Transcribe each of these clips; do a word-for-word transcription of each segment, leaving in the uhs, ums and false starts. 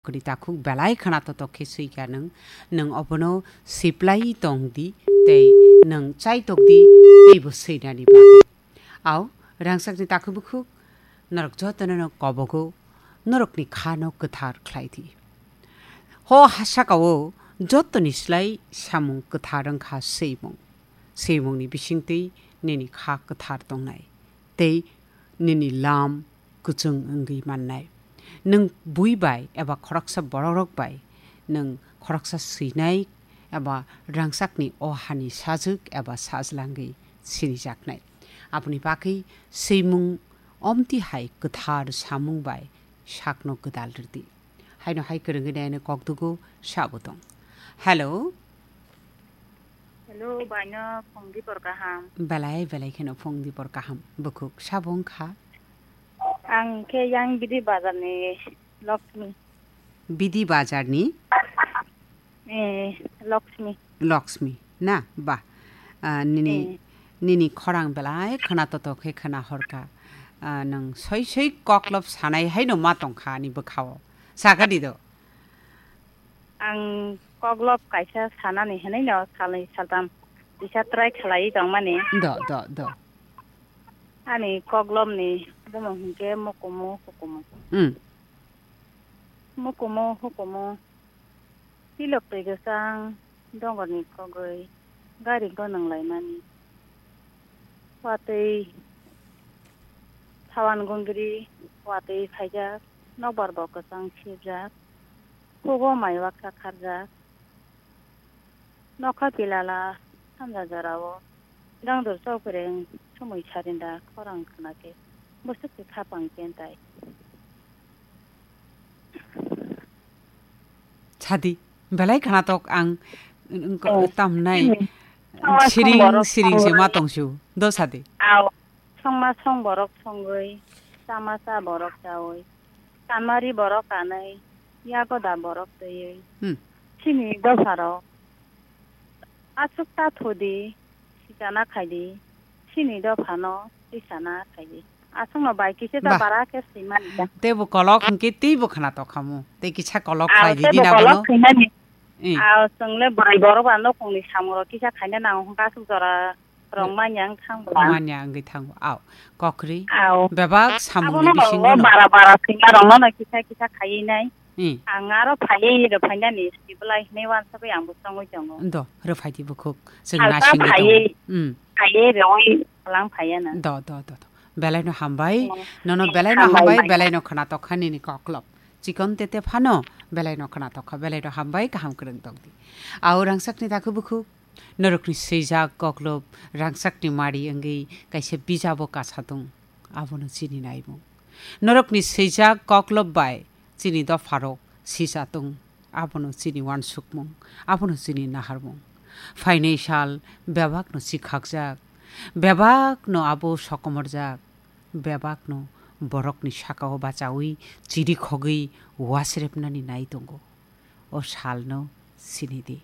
Kuni takhuk belai khwna totok khe swi kha nwng, nwng obono siplai tong di, tei nwng chai tok di, teibo swinani bagwi. Au, rangchakni takhuk bukhuk, norok jotono no kobogo, norokni kha no kwthar khlai di. Ho ha saka o jotoni slai samung kwthar wng kha swimung. Swimungni bisingtwi nini kha kwthar tongnai, tei nini lam kwchwng wngwi mannai. Nwng bui bai eba khoroksa borokrok bai nwng khoroksa swinai eba rangchakni o hani sajwk eba sajlangwi sinijaknai. Aboni bagwi swimung omti hai kwthar samung bai sakno gwdal rwdi. Haino hai kwrwngwi naino kokdugo sabo tong. Hello. Hello, baino phung dipor kaham. Belai, belai kheno phung dipor kaham. Bukhuk sabo wngkha? Ang khe yang Bidi Bazar ni Lakshmi. Bidi Bazar ni? Eh, Lakshmi. Lakshmi, na? Ba. Ah, nini, Eh. nini khorang belai khwna totok khe khwna horkha. Ah, nwng soi soi koklop sanai haino ma tongkha ani bwkhao. Sakha di do. Ang koklop kaisa sanani hinwi no salnwi saltam kisa try khlaiwi tongmani. Do, do, do. Ani koklopni bumung hinkhe Mukumu Hukumu. Hmm. Mukumu Hukumu. Tilok twi kwchang dongorni kogwi gari gonang laimani. Watwi sawan gungri watwi phaijak, nokbar bo kwchang sibjak. Hugo mai waksa kharjak. Nokha pilala sanja jorao dangdur chokbreng sumui sarinda khorang khna khe bwswk khe khapang kentai. Sadi, belai khwnatok ang, ang ko-, Oh. tamnai. Hmm. Siring, siring se ma tongsu. Do sadi. Ao. Songma song borok songwi, chama cha borok chawi, kanmari borok kanwi, yagoda borok twiwi. Hmm. Chini dopharok aswk ta thudi, sikana khaidi, chini dophano tisana khaidi. Aswkno bai kisa ta Bah. Bara khe swimani ta. Teibo kolok hwnkhe teibo khwnatok khamu. Tei kisa kolok Ao khlai teibo ridi na kolok bono. Swimani. Eh. Ao chwngle bwrwi borok ba nokongni samungrok kisa khaina nango hwnkhe aswk jora Rong manya wng thangbo. Manya wngwi thango. Ao, kokri. Ao. Bebak samungni Abono bisingo rwgo no. Bara bara singa rongno no kisa kisa khaiwi nai. Hmm. Ang aro phaiwi rwphainani sibwlai hinwi wansugwi ang bo chongwi tongo. Do, rwphaidi bukhuk. Chwng Salsa nasingwi phaiwi, tongo. Hmm. Phaiwi rwui lang phaiya na. Do, do, do, do. Belaino hambai. Hmm. Nono belaino hambai, hambai, manya. Belaino khwnatok kha nini koklop. Chikon tete phano belaino khwnatok kha, belaino hambai, kaham kwrwng tongdi. Ao rangchakni takhuk bukhuk. Norokni swijak koklop rangchakni mari wngwi kaisa bijabo kasa tong, abono chini naimung. Norokni swijak koklop bai chini dopharok sija tong, abono chini wansukmung, abono chini naharmung. Phainai sal bebakno chikhakjak, bebakno abo sokomorjak, bebakno borokni sakao bachaui chirikhogwi wasrepnani nai tongo. O salno sini di.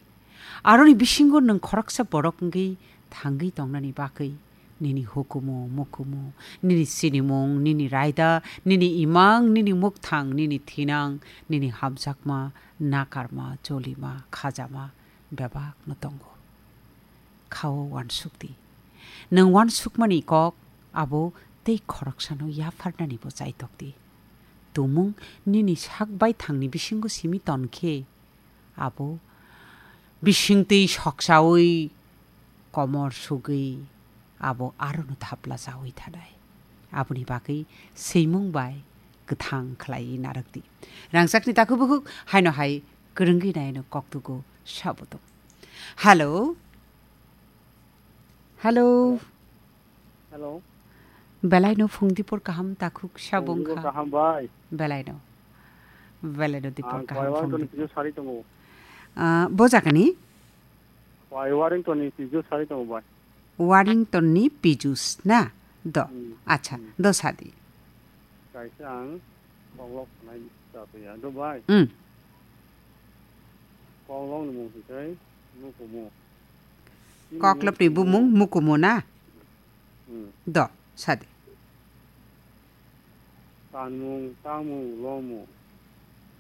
Aroni bisingo nwng khoroksa borok wngwi thangwi tongnani bagwi nini hukumu, mukumu, nini sinimung, nini raida, nini imang, nini mukthang, nini thinang, nini hamjakma, nakarma, cholima, khajama bebakno tongo. Khao wansuk di. Nwng wansukmani kok abo tei khoroksano yapharnanibo chaitok di. Tumung nini sak baithangni bisingo simi ton khe, abo bisingtwi soksaui komor sugwi abo arono thapla chaui thanai. Aboni bagwi swimung bai kwthang khlaiwi narwk di. Rangchakni takhuk bukhuk haino hai kwrwngwi naino koktugo sabo tong. Hello. Hello. Hello. Belaino phung dipor kaham takhuk sabo wngkha. Phung dipor kaham bai. Belaino. Belaino dipor kaham phung dipor. Ang Warrington ni Pijus sari tongo. Ah, bo jagani? Wai Warrington ni Pijus sari tongo bai. Warrington ni Pijus na? Do. Hmm. Acha, hmm. Do sadi. Kaisa ang koklop sanai ta ya. Do bai. Hmm. Koklop ni mung hikai Mukumu. Koklopni bumung Mukumu na? Hmm. Do, sadi. Tanmung, tangmung, lomung,